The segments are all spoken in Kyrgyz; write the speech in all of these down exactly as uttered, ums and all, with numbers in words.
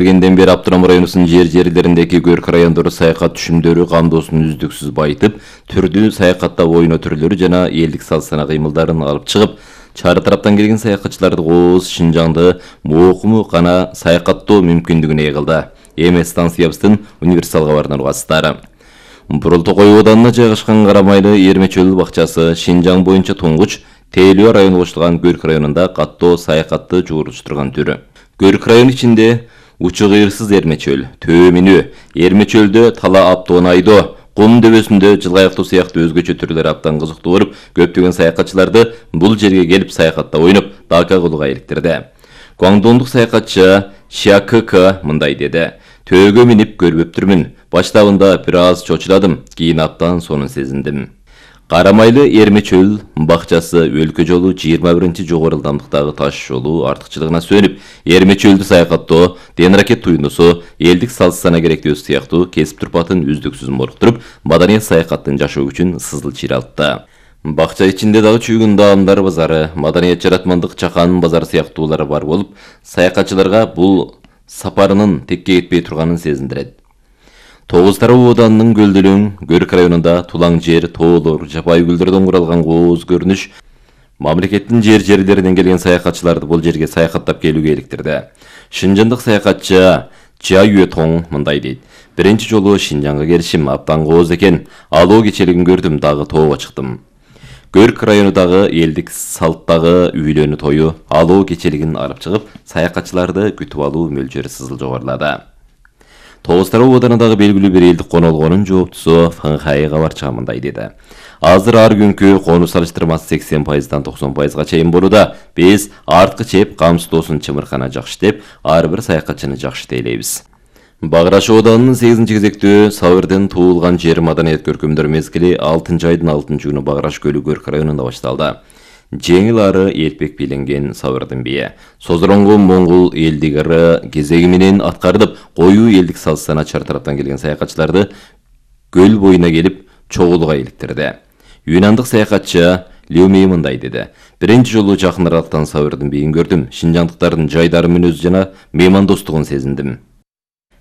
Бергенден бeri Аптанам районунун жер жерлериндеги көрк райондору саякат түшүмдөрү камдоосун үздүксүз байытып, түрдүү саякаттап ойноо түрлөрү жана элдик салт-сана кыймылдарын алып чыгып, чары тараптан келген саякатчыларды кооз Шинжаңды моокуму гана саякаттоо мүмкүндүгүнө ээ кылды. Эми станциябыздын универсал кабарынан угасыздар. Бурул-Токой ооданына жайгашкан Карамайлы Эрмечөл бакчасы Шинжаң боюнча туңгуч Тейлөө району кошулган Көрк районунда каттоо саякатты жуурулуштурган түрү. Көрк району ичинде учу кыйырсыз Эрмечөл, Төө минүү, Эрмечөлдө тала аптоон айдоо, кум дөбөсүндө жылгаяктоо сыяктуу өзгөчө түрлөр абдан кызыктуу болуп, көптөгөн саякатчыларды бул жерге келип саякатта ойноп, дака кылууга иликтирди. Гуаңдондук саякатчы Шя К К мындай деди: "Төөгө минип көрбөптүрмүн. Баштабында бир аз чочуладым, кийин абдан сонун сезиндим." Карамайлы Эрмечөл бакчасы өлкө жолу жыйырма биринчи жогору ылдамдыктагы таш жолу артыкчылыгына сүйөнүп, Эрмечөлдү саякаттоо, ден ракет туюндусу, элдик салт-сана керектөөсү сыяктуу кесип турпатын үздүксүз молуктуруп, маданият саякаттын жашоо күчүн сызыл чыйралтты. Бакча ичинде дагы чүйгүн даамдар базары, маданият жаратмандык чакан базары сыяктуулары бар болуп, саякатчыларга бул сапарынын текке кетпей турганын сезиндирет. Тогуз тароо ооданынын көлдөлөң Көрк районунда тулаң жер, тоолор, жапайы гүлдөрдөн куралган кооз көрүнүш мамлекеттин жер жерлеринен келген саякатчыларды бул жерге саякаттап келүүгө иликтирди. Шинжандык саякатчы Жа Юэтоң мындай дейт: "Биринчи жолу Шинжаңга келишим абдан кооз экен. Алоо кечелигин көрдүм, дагы тоого чыктым." Көрк районундагы элдик салттагы үйлөнүү тою алоо кечелигин алып чыгып, саякатчыларды күтүп алуу мөлчөрү сызыл жогорулады. Тогуз тароо ооданындагы белгилүү бир элдик конолгонун жооптусу Фанхай кабарчыга мындай деди: "Азыр ар күнкү конуу салыштырмасы сексен пайыздан токсон пайызга чейин болууда. Биз арткы чеп камсыздоосун чымыркана жакшы деп, ар бир саякатчыны жакшы тейлейбиз." Багыраш ооданынын сегизинчи кезектүү Сабырдын туулган жер маданият көркөмдөр мезгили алтынчы айдын алтынчы күнү Багыраш көлү Көрк районунда башталды. Жеңил ары элпек биленген Сабырдын бие, Созороңго моңгол элдик ыры кезеги менен аткарылып, коюу элдик салт-сана чар тараптан келген саякатчыларды көл боюна келип чогулууга иликтирди. Юнандык саякатчы Леумей мындай деди: "Биринчи жолу жакын аралыктан Сабырдын биин көрдүм. Шинжаңдыктардын жайдары мүнөзү жана меймандостугун сезиндим."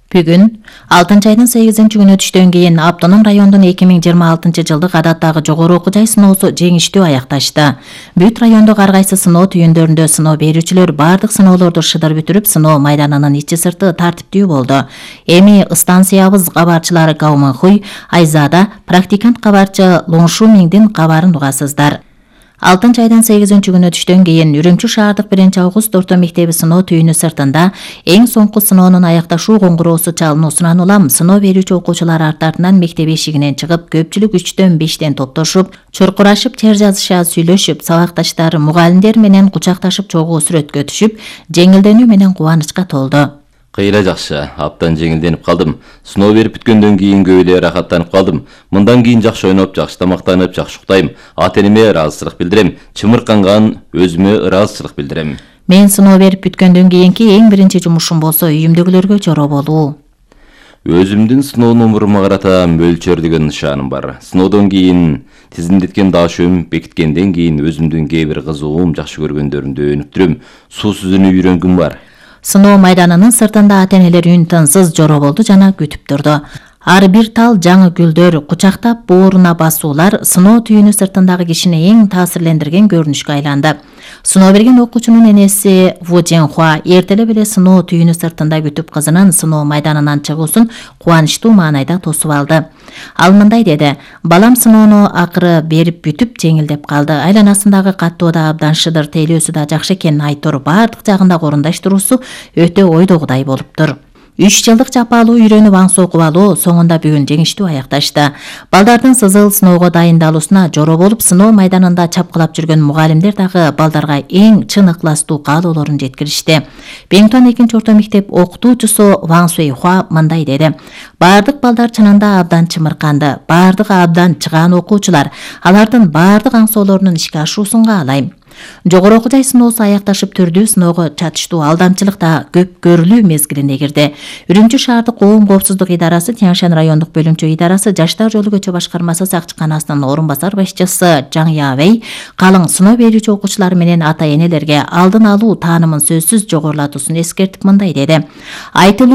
Бүгүн алтынчы айдын сегизинчи күнү түштөн кийин Аптанам районунун эки миң жыйырма алтынчы жылдык адаттагы жогору окуу жай сыноосу жеңиштүү аякташты. Бүт райондогу ар кайсы сыноо түйүндөрүндө сыноо берүүчүлөр бардык сыноолорду шыдыр бүтүрүп, сыноо майданынын ичи сырты тартиптүү болду. Эми станциябыз кабарчылары Гауманхуй, Айзада, практикант кабарчы Лоңшумиңдин кабарын угасыздар. алтынчы айдын сегизинчи күнү түштөн кийин Үрүмчү шаардык биринчи август орто мектеби сыноо түйүнү сыртында эң соңку сыноонун аякташуу коңгуроосу чалынуусунан улам сыноо берүүчү окуучулар арт-артынан мектеп эшигинен чыгып, көпчүлүк үчтөн бештен топтошуп, чуркурашып, чер жазышаа, сүйлөшүп, сабакташтар, мугалимдер менен кучакташып чогуу сүрөткө түшүп, жеңилденүү менен кубанычка толду. Кыйла жакшы, абдан жеңилденип калдым. Сыноо берип бүткөндөн кийин көп эле рахаттанып калдым. Мындан кийин жакшы ойноп, жакшы тамактанып, жакшы уктайм. Ата-энеме ыраазычылык билдирем. Чымырканган өзүмө ыраазычылык билдирем. Мен сыноо берип бүткөндөн кийинки эң биринчи жумушум болсо үйүмдөгүлөргө чороо болуу. Өзүмдүн сыноо номурума карата мөлчөрлөгөн нышаным бар. Сыноодон кийин тизимдеткен даашөм бекиткенден кийин өзүмдүн кээ бир кызыгуум, жакшы көргөндөрүмдү өнүп турам. Суу сүзүүнү үйрөнгүм бар. Сыноо майданынын сыртында ата-энелер үн тынсыз жороо болду жана күтүп турду. Ар бир тал жаңы гүлдөр, кучактап бооруна басуулар сыноо түйүнү сыртындагы кишини эң таасирлендирген көрүнүшкө айланды. Сыноо берген окуучунун энеси Ву Женхуа эртелеп эле сыноо түйүнү сыртында күтүп кызынын сыноо майданынан чыгуусун кубанычтуу маанайда тосуп алды. Ал мындай деди: "Балам сыноону акыры берип бүтүп жеңилдеп калды. Айланасындагы каттоо да абдан шыдыр, тейлөөсү да жакшы экенин айтор, бардык жагында орундаштыруусу өтө ойдогудай болуптур." үч жылдык жапалуу үйрөнүп аңсы окуп алуу соңунда бүгүн жеңиштүү аякташты. Балдардын сызыл сыноого дайындалуусуна жороо болуп, сыноо майданында чапкылап жүргөн мугалимдер дагы балдарга эң чын ыкластуу каалоолорун жеткиришти. Беңтуан экинчи орто мектеп окутуучусу Ван Суэйхуа мындай деди: "Бардык балдар чынында абдан чымырканды, бардыгы абдан чыгаан окуучулар. Алардын бардык аңсоолорунун ишке ашуусун каалайм. Жогору окуу жай сыноосу аякташып түрдүү сыноого чатыштуу алдамчылык да көп көрүлүү мезгилине кирди. Үрүмчү шаардык коом коопсуздук идарасы, Тянь-Шань райондук бөлүмчө идарасы, Жаштар жолу көчө башкармасы сакчыканасынын орун басар башчысы Жаң Явей калың сыноо берүүчү окуучулар менен ата энелерге алдын алуу таанымын сөзсүз жогорулатуусун эскертип мындай деди. Айтылуу